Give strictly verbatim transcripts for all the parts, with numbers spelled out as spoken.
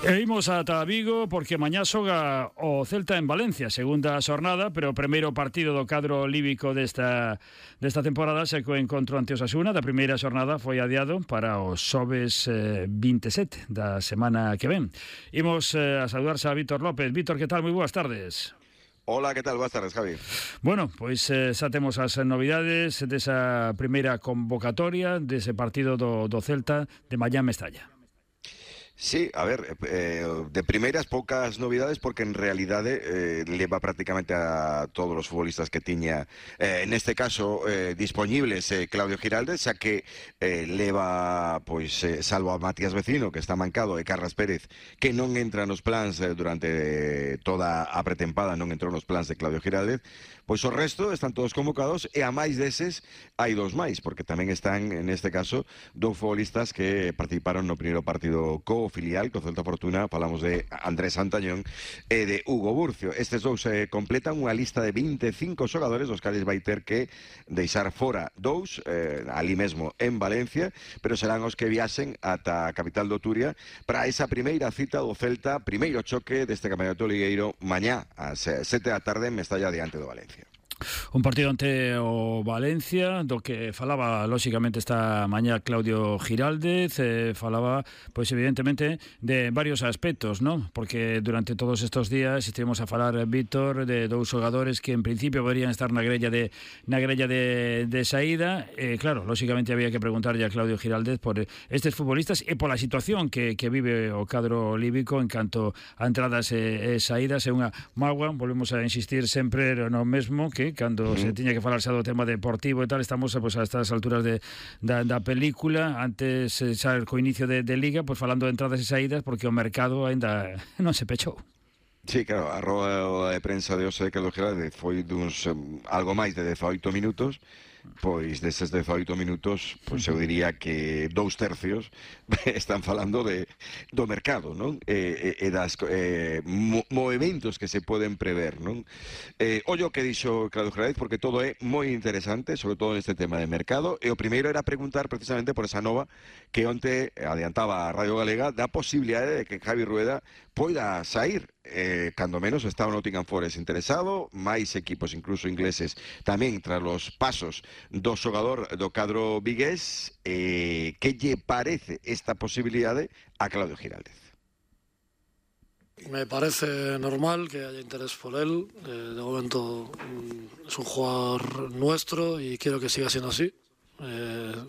E imos ata Vigo porque mañá xoga o Celta en Valencia, segunda xornada, pero o primeiro partido do cadro líbico desta desta temporada se co encontro ante Osasuna. Da primeira xornada foi adiado para o xoves eh, vinte e sete da semana que ven. Imos eh, a saudarse a Víctor López. Víctor, que tal? Moi boas tardes. Hola, que tal? Boas tardes, Javi. Bueno, pois eh, xa temos as novidades desa primeira convocatoria dese partido do, do Celta de mañá en Mestalla. Sí, a ver, eh, de primeiras poucas novidades porque en realidade eh, leva prácticamente a todos os futbolistas que tiña eh, neste caso eh, disponibles eh, Claudio Giraldez, xa que eh, leva, pois, eh, salvo a Matías Vecino, que está mancado, e Carras Pérez, que non entra nos plans eh, durante toda a pretempada, non entrou nos plans de Claudio Giraldez, pois o resto están todos convocados e a máis deses hai dos máis, porque tamén están, neste caso, dous futbolistas que participaron no primeiro partido co filial, co Celta Fortuna. Falamos de Andrés Santañón e de Hugo Burcio. Estes dous eh, completan unha lista de vinte e cinco xogadores, dos cales vai ter que deixar fora dous, eh, ali mesmo en Valencia, pero serán os que viaxen ata a capital do Turia para esa primeira cita do Celta, primeiro choque deste campeonato ligueiro mañá ás sete da tarde en Mestalla diante do Valencia. Un partido ante o Valencia, do que falaba lóxicamente esta mañá Claudio Giraldez, eh, falaba, pois evidentemente, de varios aspectos, ¿no? Porque durante todos estos días estivemos a falar, Víctor, de dous xogadores que en principio deberían estar na grella de na grella de, de saída. Eh, claro, lóxicamente había que preguntarlle a Claudio Giraldez por estes futbolistas e pola situación que, que vive o cadro líbico en canto a entradas e, e saídas. É unha mágoa, volvemos a insistir sempre no mesmo, que cando se tiña que falar xa do tema deportivo e tal, estamos pues, a estas alturas de, da, da película, antes xa co inicio de, de Liga, pues falando de entradas e saídas, porque o mercado aínda non se pechou. Sí, claro, a roda de prensa de hoxe que lo Giraldez foi duns um, algo máis de dezaoito minutos. Pois deses dezaoito minutos, pois eu diría que dous tercios están falando de do mercado, non? E, e, e das eh, mo, movimentos que se poden prever, non? Eh, ollo que dixo Claudio Giraldez, porque todo é moi interesante, sobre todo neste tema de mercado, e o primeiro era preguntar precisamente por esa nova que onte adiantaba a Radio Galega da posibilidade de que Javi Rueda poida sair. Eh, cando menos está o Nottingham Forest interesado, máis equipos incluso ingleses tamén tras os pasos do xogador do cadro vigués. Eh, que lle parece esta posibilidade a Claudio Giraldez? Me parece normal que haya interés por él. Eh, de momento mm, es un jugador nuestro y quiero que siga siendo así. Eh,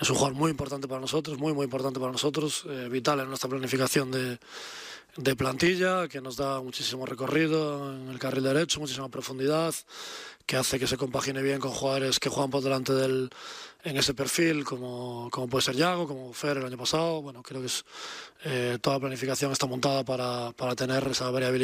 es un jugador muy importante para nosotros, muy muy importante para nosotros, eh, vital en nuestra planificación de de plantilla, que nos da muchísimo recorrido en el carril derecho, muchísima profundidad, que hace que se compagine bien con jugadores que juegan por delante del en ese perfil, como, como puede ser Yago, como Fer el año pasado. Bueno, creo que es, eh, toda la planificación está montada para, para tener esa variabilidad.